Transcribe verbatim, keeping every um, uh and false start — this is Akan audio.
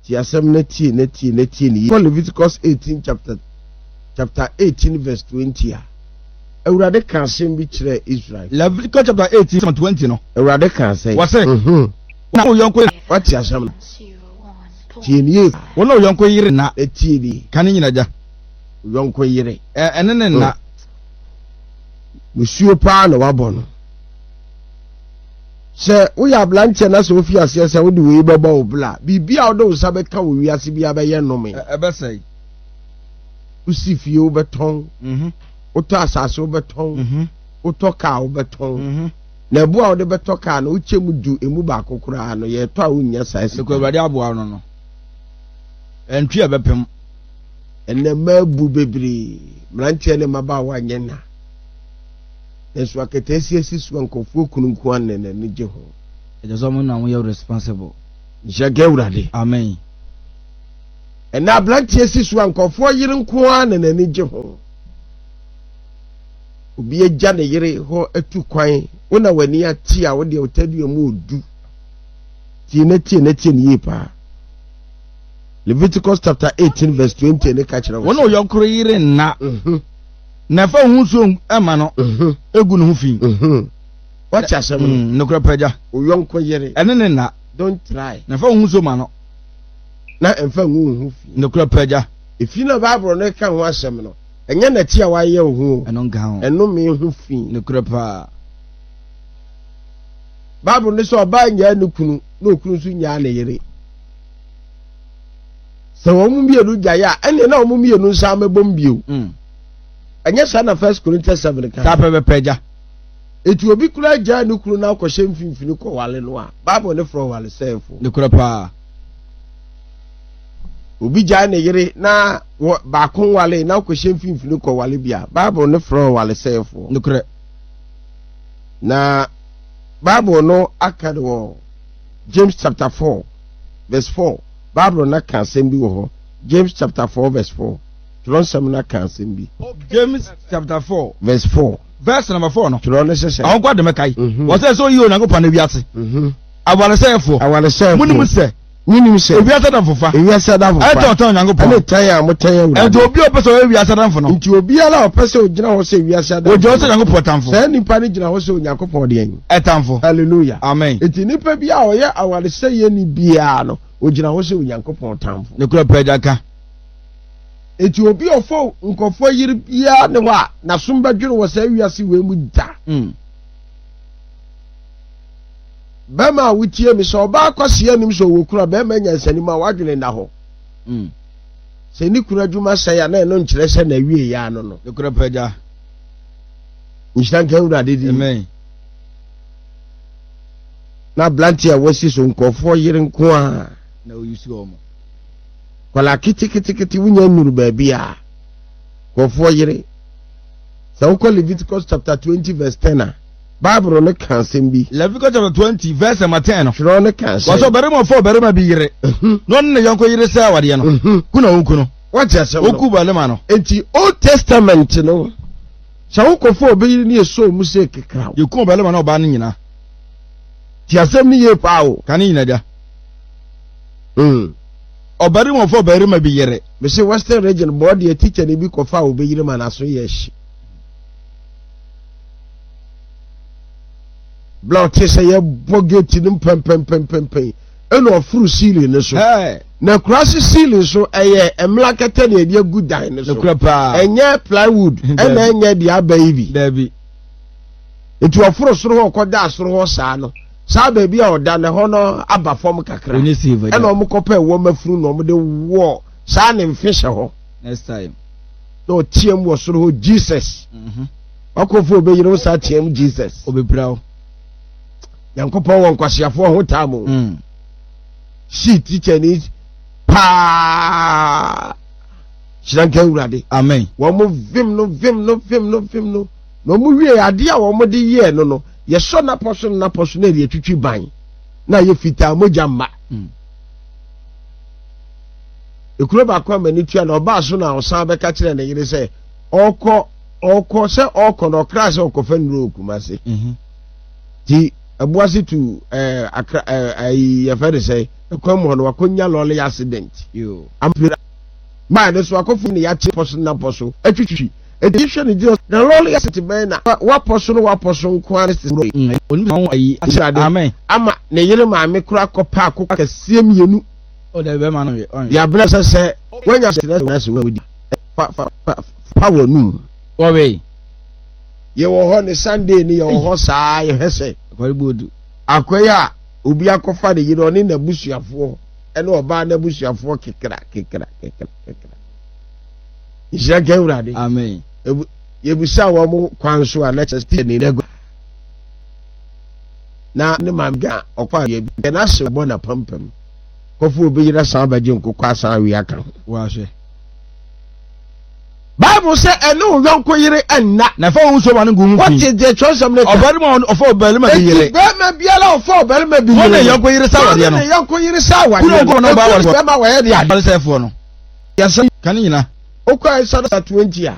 Tie asɛm na tie na tie na tie ne yie. Kɔ Leviticus eighteen chapter chapter eighteen verse twenty a, Awurade ka asɛm bi kyerɛɛ Israel. Leviticus chapter eighteen verse twenty no. Awurade ka sɛ. Wɔsɛ. Mhm. Na wo yɔnko. Wate asɛm no. Tie ne yie. Wo ne wo yɔnko yere nna. Na tie ne yie. Ka ne nyina gya. Wo yɔnko yere. Ɛ ɛne ne nna. Musuo paa na wabɔ no. Sɛ woyɛ aberanteɛ na sɛ wofi aseɛ sɛ wode wei bɛbɔ wo bla, biribi a wode wo nsa bɛka wɔ wiase biara bɛyɛ nnome. Ɛbɛsɛe. Wosi fie wobɛtɔn, Mhm. wotɔ asase wobɛtɔn, Mhm. wotɔ kaa wobɛtɔn. Mhm. Na ɛbo a wode bɛtɔ kaa no, wokyɛ mu du emu baako koraa no, yɛtɔ a wonnya saa sika. Nokɔ Awurade aboa no no. Ɛntwi a ɛbɛpem. Ɛnɛ mmaa bu bebree, mmeranteɛ ne mmabaawa nyɛ nna. Nanso akataasia si so a nkurɔfoɔ kunu nko ara na n'ani gye ho. Ɛkyɛ sɛ ɔmo na ɔmo yɛ responsible. Nhyira nka Awurade. Amen. Ɛnɛ aberanteɛ si so a nkurɔfoɔ yere nko ara na n'ani gye ho. Obi agya ne yere hɔ atu kwan, wo na w'ani ate a wo deɛ wo tadua mu odu. Tie na tie na tie ne yie paa. Leviticus chapter eighteen verse twenty ne ka kyerɛ wo Wo ne wo yɔnko yere nna. Mhm, Na ɛfa wo ho nsuo ɛma no mhm, egu ne ho fi. mhm. Wate asɛm no? Mm, Nokorɛ pɛ gya. Wo yɔnko yere. Ɛne ne nna. Don't try. Na ɛfa wo ho nsuo ma no. Na ɛmfa ngu wo ho fi. Nokorɛ pɛ gya. Efi na Bible no ka ho asɛm no, ɛnyɛ nɛte a wayɛ wo ho o. Ɛno nka ho. Ɛnome ho fi. Nokorɛ paa. Bible no sɛ ɔbaa nyaa ne kunu na okunu nso nyaa ne yere. Sɛ wɔn mmienu gyae a, ɛnneɛ na wɔn mmienu nsa amɛbom bio. Mm. Ɛnyɛ saa na First Corinthians seven ka. Saa pɛpɛpɛ gya. Eti obi kura gyaa ne kunu na akɔhyɛ mfimfini kɔwale no a, Bible ne frɛ ɔwale sɛɛfo. Nokorɛ paa. Obi gyae ne yere na wɔ baako nwale na akɔhyɛ mfimfini kɔwale bi a, Bible ne frɛ ɔwale sɛɛfo. Nokorɛ. Na Bible no aka no wɔ James chapter four verse four. Bible no aka asɛm bi wɔ hɔ. James chapter four verse four. Twerɛnsɛm no aka asɛm bi. James chapter four. Verse four. Verse number four no. Twerɛ no sɛ sɛ. Àwọn kɔ ademe kae. Mhm. Wɔsɛ sɛ oyi Onyankopɔn na wiase. Mhm. Awaresɛefoɔ. Awaresɛefoɔ. Munim sɛ. Munim sɛ. Ewiase adamfofa. Ewiase adamfofa. Ɛtɔn tɔn Onyankopɔn. Ɛne tan a motan Awurade. Nti obi a ɔpɛ sɛ ɔyɛ wiase adamfo no. Nti obiara a ɔpɛ sɛ ogyina hɔ sɛ wiase adamfo. Ogyina hɔ sɛ Onyankopɔn tamfo. Saa nipa no gyina hɔ sɛ Onyankopɔn deɛn? Ɛtamfo. Hallelujah. Amen. Nti nipa bi a ɔyɛ awaresɛeɛ ni biara no, ogyina hɔ sɛ Onyankopɔn tamfo. Nokorɛ pɛ agya ka. Nti obi a ɔfɔ nkɔfoɔ yere biara ne hɔ a n'asom bɛdwene wɔ saa wiase wei mu da. Mm. Bɛrima a wotie mi sɛ ɔbaa kɔseɛ anim sɛ ɔwɔ kunu a, bɛrima nyansanim a wadwene nna hɔ. Mm. Sɛ ne kunu adwuma sɛe a, na ɛno nkyerɛ sɛ na awie yɛ ano no. Nokorɛ pɛ agya. Nhyira nka Awurade din. Amen. Na aberante a wasi so nkɔfoɔ yere nko a. Na oyi si wɔn. Kwala ketekete wonya nnuru baabi a nkɔfoɔ yere. Sɛ wokɔ Leviticus chapter twenty verse ten a, Bible no ka asɛm bi. Leviticus chapter twenty verse number ten no. Twerɛ no ka asɛm. Wɔsɛ ɔbarima ɔfa ɔbarima bi yere. Mhm. Na ɔne ne yɔnko yere sɛ awadeɛ no. Mhm. Ku na woku no. Wate asɛm no. Woku barima no. Enti Old Testament no, sɛ wokɔfa obi yere ne yɛsɔ mu sɛ kekraw. Yɛku ɔbarima na ɔbaa no nyinaa. Ti asɛm no yie paa o. Ka ne nyina gya. Mm. Ɔbarima ɔfa ɔbarima bi yere. Mese Western Region bɔɔ deɛ teacher ni bi kɔfa obi yere ma n'aso yɛ hye. Bla ɔte sɛ yɛbɔ gate no mpɛmpɛmpɛmpɛn ɛna ɔforo ceiling no so. Hey. Na kurase ceiling so ɛyɛ mmla kɛtɛ na yɛde agu dan no so. Nokorɛ paa. Ɛnyɛ plywood ɛna ɛnyɛ deɛ aba yi bi. Dabi. Nti ɔforo soro hɔ ɔkɔda soro hɔ saa no, saa baabi a ɔda no ɛhɔ no aba fam kakra. Onye save agya. Ɛna ɔmo kɔpɛ ɛwɔ mafunu na ɔmo de wɔ saa ne mfe hyɛ hɔ. Next time. Na ɔteam wɔ soro hɔ Jesus. Mhm. Wakɔfo obɛyere wo saa team Jesus. Obɛpira wo. Nyankopɔn wɔ nkwaseafoɔ ho taa mu. Mm. Si teacher ni paa. Hyira nka Awurade. Amen. Wɔn mo vim no vim no vim no vim no. Na wɔn wie adeɛ a wɔn de yɛɛ no no, yɛsɔ n'apɔ so n'apɔ so na yɛde atwitwi ban. Na yɛ fitaa mogya mma. Mm. Ekuro baako a m'ani tua na ɔbaa so na ɔsan bɛka kyerɛ ne yere sɛ ɔkɔ ɔkɔ sɛ ɔkɔ na ɔkra sɛ ɔkɔfa nnuro wɔ Kumase. Mhm. Ti Ɛboase tu ɛɛ Akra ɛɛ ayi yɛfɛ de sɛ ɛkwan mu hɔ no wakɔnya lɔɔre accident. Ampira baa ne so akɔfo ne yɛakye pɔ so na pɔ so atwitwi. Eti hwɛ ne gyina na lɔɔre accident bɛn na wapɔ so no wapɔ so nko ara ne sɛ ama ne yere maame kora kɔpɛ akokɔ kɛseɛ mmienu. Yɛabrɛ sɛ sɛ wanya sɛ sɛ wadi fa fa fa fa wɔ num. Wɔwei. Yɛwɔ hɔ ne Sunday ne yɛwɔ hɔ saa yɛhwɛ sɛ akɔyɛ a obi akɔfa ne yere ɔne n'abusuafoɔ ɛne ɔbaa n'abusuafoɔ kekra kekra kekra kekra. Nhyira nka Awurade. Amen. Yɛbusa wɔn kwan so a na kyerɛ sɛ ne nagua na ne maame ga ɔkɔ a yɛ bi n'ase bɔ n'apampam kɔfo obi yere san abɛgye nkokɔ asan awie aka ho. Wɔahwɛ. Bible sɛ ɛne wo yɔnko yere nna. Na fa wo nsuo ma no ngu ho fi. Wɔte deɛ kyerɛwsɛm no ka. Ɔbarima ɔfa ɔbarima bi yere. Eti barima biara ɔfa ɔbarima bi yere. Wɔn ne yɔnko yere sa awadeɛ no. Wɔn ne yɔnko yere sa awadeɛ no. Kunu nko na ɔba awadeɛ. Bɛrima wɔyɛ de ade. Awaresɛefoɔ no. Yɛsɛ. Ka ne nyina. Okɔ Exodus twenty a.